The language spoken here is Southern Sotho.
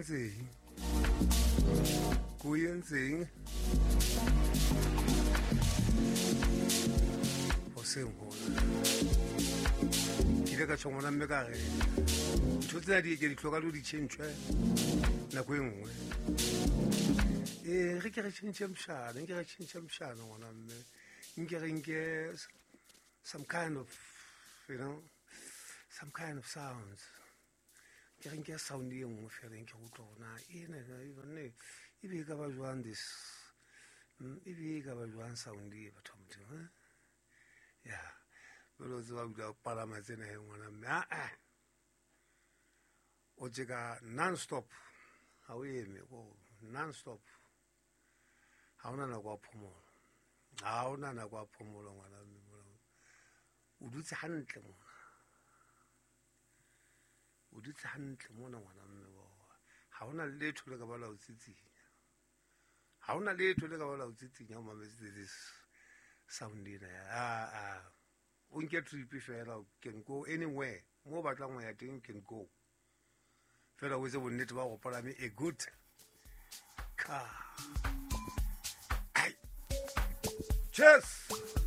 Entseng ko entseng hoseng hona ke ile ka tjho ngwana mme ka re ntho tsena di ke di hloka le di tjhentjhwe nako e nngwe. Ee, re ke re tjhentjhe mshana, nke re tjhentjhe mshana ngwana mme, nke re nke some kind of, you know, some kind of sounds. Ke re nke sound e nngwe fela, nke go utlwa gona ena banne e be e ka ba jwang this, e be e ka ba jwang sound e batho ba Modimo, eh? Ya jalo o tseba dula o palama tsena he ngwana mme, aa o tjeka non stop, ha o eme ko non stop, ha ona nako ya phomolo, ha ona nako ya phomolo ngwana mme, o dutse hantle mona, o dutse hantle mona ngwana mme, ha ona letho le ka ba la o tsitsinya, ha ona letho le ka ba la o tsitsinya o mametse this sound ena ya a o nke trip fela, o can go anywhere mo o batlang ho ya teng, you can go fela, o etse bonnete ba go palame a good car. Ai. Cheers.